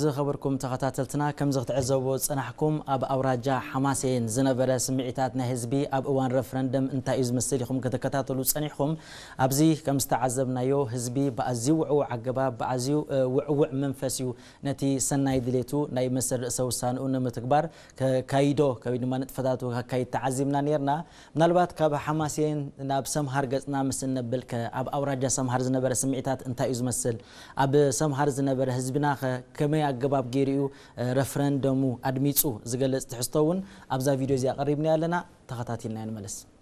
ዝኸበርኩም ተኸታተልትና፣ ከምዚ ክትዕዘብዎ ዝጸናሕኩም፣ ኣብ ኣውራጃ ሓማሴን ዝነበረ ስምዒታት ናይ ህዝቢ ኣብ እዋን ረፍረንደም እንታይ እዩ ዝመስል ኢኹም ክትከታተሉ ጸኒሕኩም። ኣብዚ ከም ዝተዓዘብናዮ፣ ህዝቢ ብኣዝዩ ውዕዉዕ ኣገባብ፣ ብኣዝዩ፣ እ፣ ውዕውዕ መንፈስ እዩ ነቲ ሰናይ ድሌቱ ናይ መሰል ርእሰ ውሳንኡ ንምትግባር ከካይዶ ወይ ድማ ንጥፈታቱ ከካይድ ተዓዚብና ነርና። ምናልባት ካብ ሓማሴን ናብ ሰምሃር ገጽና ምስ እነብል ከ፣ ኣብ ኣውራጃ ሰምሃር ዝነበረ ስምዒታት እንታይ እዩ ዝመስል? ኣብ ሰምሃር ዝነበረ ህዝብና ከ ከመይ ኣገባብ ገይሩ እዩ፣ እ፣ ረፍረንደሙ ኣድሚጹ ዝገልጽ ትሕዝቶ እውን ኣብዛ ቪድዮ እዚኣ ኣቐሪብና ኣለና። ተኸታቲልና ንመለስ።